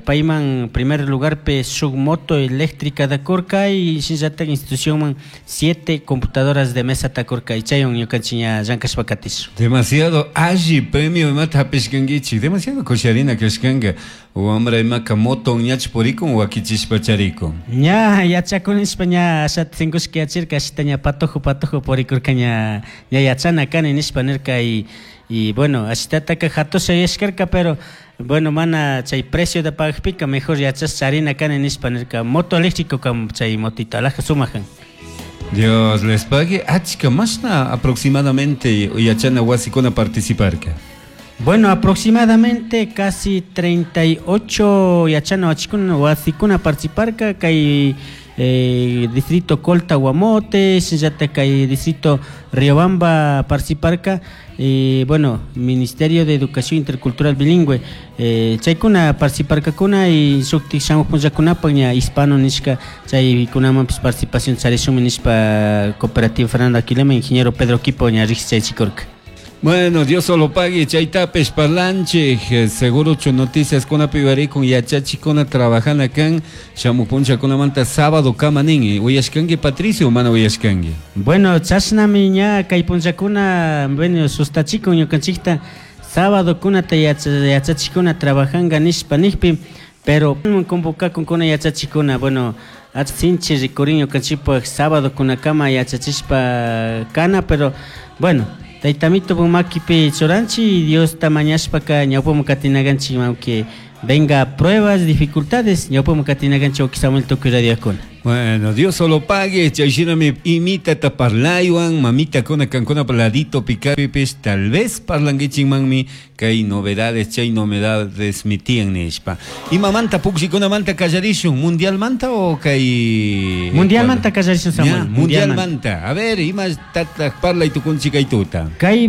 Payman primer lugarpi shuk moto eléctrica kurka y shinallatak institucionman siete computadoras de mesa kurka y chaywan ñukanchik ña llankashpa katishun. Demasiado alli premio imata hapishkankichik, demasiado kusharina kashkanka. Wambra imaka moto ñach purikun wakichishpa charikun. Ña yachakunishpa ña ashata sinkushka yachirka, ashita ña patojo patojo purikurka, ña ña yachana kani nishpa nirka. Y bueno, ashitataka hatusha yuyashkarka, pero bueno, mana chay precio de pagajpika mejor yachash charina kani nishpa nirka. Moto eléctrico kam chay motito alaja sumak kan. Dios les pague. Achka mashna aproximadamente yachana wasikuna participarka? Bueno, aproximadamente casi 38 yachana wasikuna participarka kay distrito Colta Guamote, shinallatak kay distrito Riobamba participarka. Bueno, Ministerio de Educación Intercultural Bilingüe, chaykuna participarkakuna y shuktik shamuq punllakunapak ña hispano nishka chaykunamanpish participación charishunmi nishpa Cooperativa Fernando Aquilema, ingeniero Pedro Quipo ña riqsichaychikurka. Bueno, Dios solo pague, chaytapish parlanchik, segurochu noticias kunapi uyarikun yachachikuna trabajana kan shamuq punllakunamanta sábado kama nin. Uyashkanki, Patricio, mana uyashkanki? Bueno, chashnami ña kay punllakuna, bueno, sustachikun ñukanchikta sábado kunata yachachikuna trabajanga nishpa nijpi, pero convocakunkuna yachachikuna, bueno, sinchi rikurin ñukanchikpak sábado kunakama yachachishpa kana, pero bueno, Taytamito makipi churanchik, Diosta mañashpaka ñawpaman katinakanchik, aunque venga pruebas, dificultades, ñawpaman katinakanchik Samuel tukuy radiokuna. Bueno, Dios solo pague, chayshinami imitata parlaywan, mamita kuna kankuna ladito picapipis, tal vez parlanguichinmanmi kay novedades, chay novedades mitian nishpa. Imamanta pukllikunamanта kallarishun, mundial manta o kay Mundial manta kallarishun, Samuel. Ya, mundial manta. A ver, ima tataq parlay tukunchik kay tuta. Kay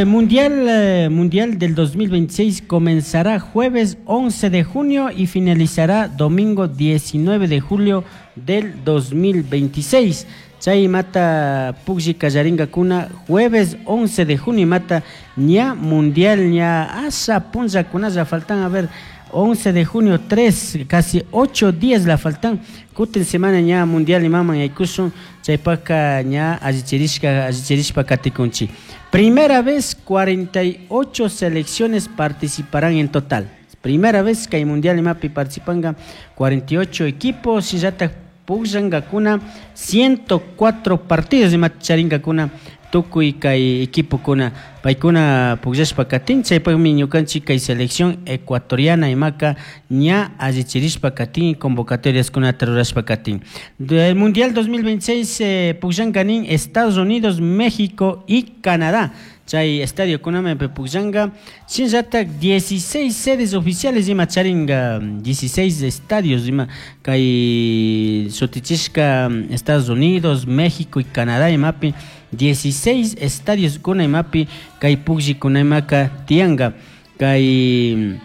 mundial del 2026 comenzará jueves 11 de junio y finalizará domingo 19 de julio del 2026. Chay mata puklli kallaringakuna jueves 11 de junio mata ña mundial ña asa punllakunalla faltan, a ver, 11 de junio, 3, casi 8 días la faltan. Kutin semana ña mundial imaman yaykushun, chaypaka ña allichirishka allichirishpa katikunchik. Primera vez 48 selecciones participarán en total. Primera vez que hay mundial imapi participan 48 equipos y ya pukllankakuna 104 partidos ima charinkakuna tukuy kay equipokuna paykuna pukllashpa katin. Chaypakmi ñukanchik kay selección ecuatoriana imaka ña allichirishpa katin, convocatoriaskunata rurashpa katin. Del Mundial 2026 pukllanka nin Estados Unidos, México y Canadá. Chay estadio kunami pukllanka, shinallatak 16 sedes oficiales ima charinka, 16 estadios ima kay shutichishka Estados Unidos, México y Canadá imapi 16 estadios kuna imapi kay pukllikuna imaka tiyanka. Kay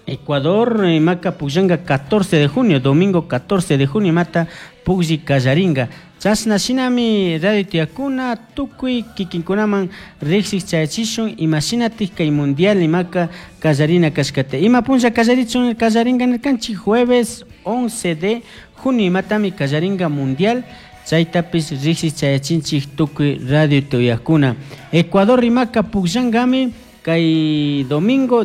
Ecuador imaka pukllanka 14 de junio, domingo 14 de junio imata puklli kallarinka. Chashna shinami radio tiyakuna tukuy kikinkunaman riksik chayachishun imashinatik kay mundial imaka kallarina kashkata. Ima punlla kallarichun kallarinka nirkanchik jueves 11 de junio imatami kallarinka mundial. Chaytapis riksik chayachinchik tukuy radio tuyakuna. Ecuador imaka pukllankami kay domingo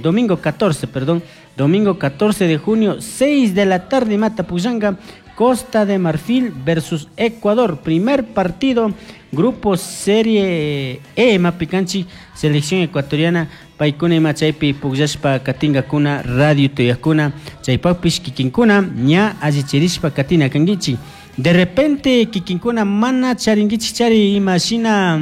domingo 14, perdón, domingo 14 de junio, 6 de la tarde mata pukllanka Costa de Marfil versus Ecuador, primer partido, grupo Serie E, Mapicanchi, selección ecuatoriana, paykuna ima chaypi pukllashpa katingakuna radio tuyakuna, chaypakpish kikinkuna ña allichirishpa katina kankichik. De repente kikinkuna mana charinkichik chari imashina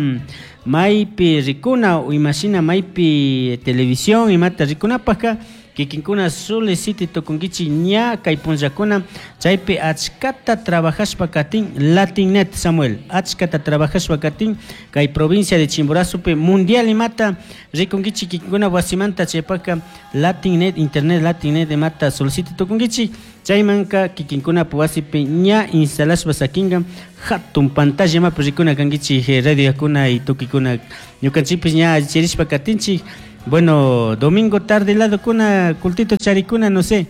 maypi rikuna o imashina maypi televisión imata rikunapaka kikinkuna solicite tukunkichik ña kay punllakuna chaypi achkata trabajashpa katin Latinnet, Samuel, achkata trabajashpa katin kay provincia de Chimborazopi mundial imata rikunkichik kikinkuna wasimanta chaypaka Latinnet, internet Latinnet imata solicite tukunkichik chaymanka kikinkuna wasipi ña instalashpa sakinka hatun pantalla imapi rikuna kankichik radio yakuna y tukikuna ñukanchikpish ña allichirishpa katinchik. Bueno, domingo tarde lado kuna cultito charikuna, no sé.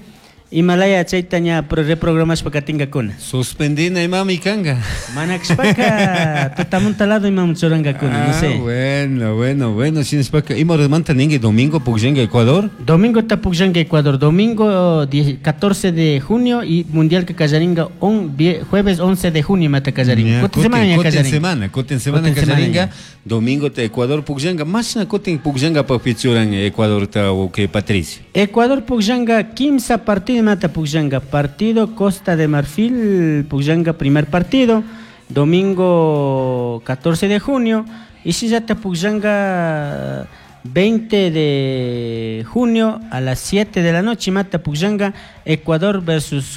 Himalaya chayta ña reprogramashpa katingakuna. Suspendina imami kanga. Mana kashpaka tutamunta lado imamun churankakuna, no sé. Bueno, bueno, bueno, shinashpaka ima horamanta ninki domingo pukllanka Ecuador? Domingo ta pukllanka Ecuador, domingo 14 de junio y mundial que kallaringa jueves 11 de junio mata kallaringa. Kutin semana ña kallaringa. Kutin semana kallaringa, domingo ta Ecuador pukllanka, mashna kutin pukllanka papichuran Ecuador ta uke Patricio. Ecuador pukllanka 15 partido mata pukllanka, partido Costa de Marfil pukllanka primer partido, domingo 14 de junio, y si ya te pukllanka 20 de junio a las 7 de la noche mata pukllanka Ecuador versus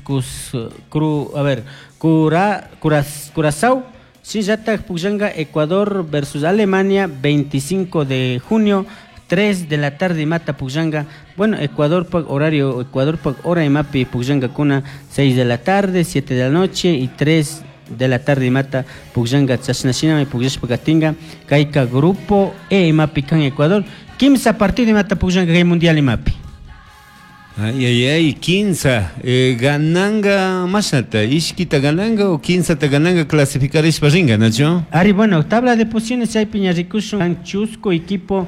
Curazao. Si ya te pukllanka Ecuador versus Alemania 25 de junio 3 de la tarde mata pukllanka. Bueno, Ecuador pa horario, Ecuador pa hora y mapi pukllanka kuna 6 de la tarde, 7 de la noche y 3 de la tarde mata pukllanka chashnashinami pukllashpa katinka kayka grupo E mapi kan Ecuador 15 partido mata pukllanka kay mundial imapi. Ay, ay, ay, 15. Gananga mashnata, ishkita gananga o 15 ta gananga clasificar ishpa ringa, Nacho? Ari, bueno, tabla de posiciones hay piña rikushun, chusco equipo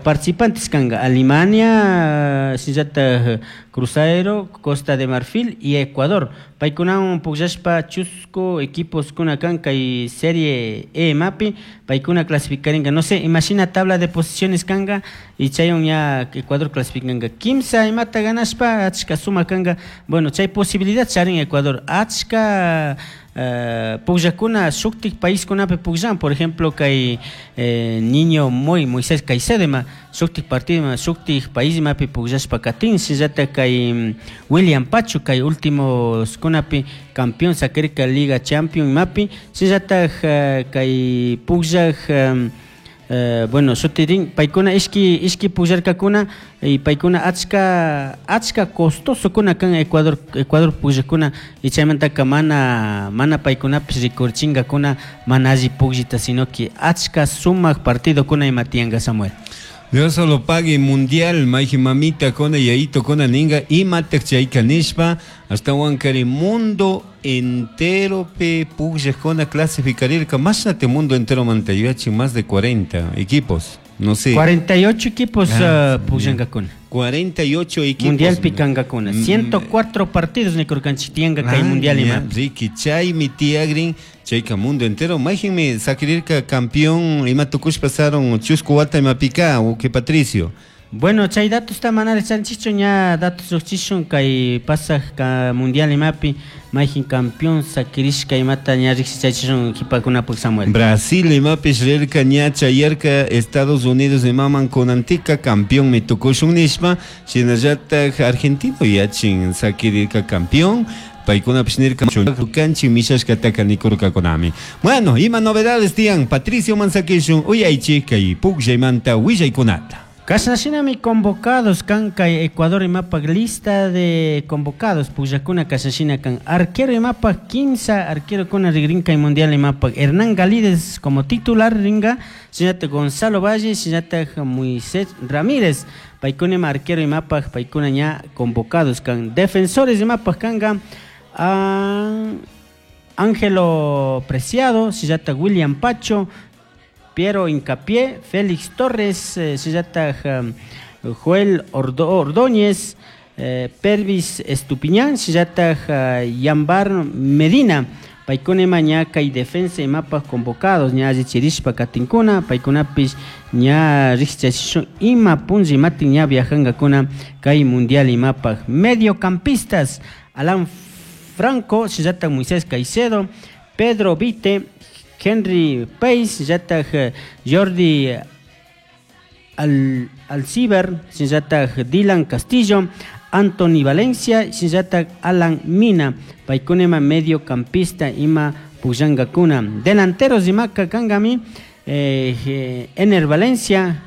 participantes kanga Alemania, shinllata Cruzeiro, Costa de Marfil y Ecuador. Paykunawan pukllashpa chusco equipos kuna kan kay Serie E mapi, paykuna clasificaringa. No sé, imagina tabla de posiciones kanga y chaywan ya Ecuador clasificanga. Kimsa imata ganashpa achka suma kanga. Bueno, chay posibilidad charin Ecuador. Achka pukllakuna shuktik paiskunapi pukllan, por ejemplo kay niño Moisés Caicedo ma shuktik partido ma shuktik país mapi pukllashpa katin, shinallata kay William Pacho kay últimos kunapi campeón sakirka Liga Champion mapi, shinallata kay pukllaj bueno, shutirin paykuna ishki pukllarkakuna y paykuna achka costoso kuna kan Ecuador pukllakuna y chaymantaka mana paykunapish rikurchinkakuna mana alli pukllita, sino que achka sumak partido kuna ima tiyanka Samuel. Dios solo pague mundial, maiji mamita kona yaito kona ninga imatak chayka nishpa hasta wankari mundo entero pe pukllakuna clasificarirka mashnate mundo entero mantayuachi más de 40 equipos, no sé. 48 equipos pukllankakuna. 48 equipos. Mundial pikankakuna. 104 partidos nikurkanchik tiyanka kay mundial ima. Ricky chay mi tiagrin chayka mundo entero mayjinmi sakirirka campeón ima tukush pasaron chusku wata ima pika uke Patricio. Bueno, chay datos ta mana richanchikchu ña datos lluqchishun kay pasaj ka mundial imapi mayjin campeón sakirishka imata ña riqsichachishun qhipakunapaq Samuel. Brasil imapish rirka ña chayarka Estados Unidos imaman kunantika campeón mi tukushun nishpa shinallataj Argentino yachin sakirirka campeón. Paykunapish nirka kanchi mishashkataka nikurkakunami. Bueno, ima novedades tiyan Patricio mansakishun uyaychik kay pukllaymanta willaykunata. Kashnashinami convocados kan kay Ecuador imapak lista de convocados pukllakuna kashnashina kan arquero imapak 15 arquero kuna rigrin kay mundial imapak Hernán Galides como titular ringa, shinallata Gonzalo Valle, shinallata Moisés Ramírez, paykuna ima arquero imapak paykuna ña convocados kan. Defensores imapak kanga Ángelo Preciado, shinallata William Pacho, Piero Hincapié, Félix Torres, shinallata Joel Ordóñez, Pervis Estupiñán, shinallata Yambar Medina. Paykuna ima ña kay defensa imapak convocados ña allichirishpa katinkuna, paykunapish ña riqsichachishun ima punlla imatin ña viajankakuna kay mundial imapak. Mediocampistas Alan Franco, shinallata Moisés Caicedo, Pedro Vite, Henry Pace, shinallata Jordi Alciber, shinallata Dylan Castillo, Anthony Valencia, shinallata Alan Mina, paykuna ima mediocampista ima pukllankakuna. Delanteros imaka kankami Ener Valencia,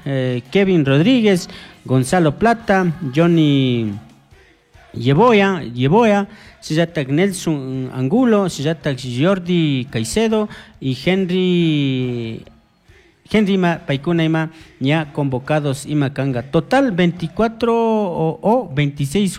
Kevin Rodríguez, Gonzalo Plata, Johnny Yeboya, shinallata Nelson Angulo, shinallata Jordi Caicedo y Henry Henry ima paykuna ima ña convocados ima kanga. Total 24 o 26.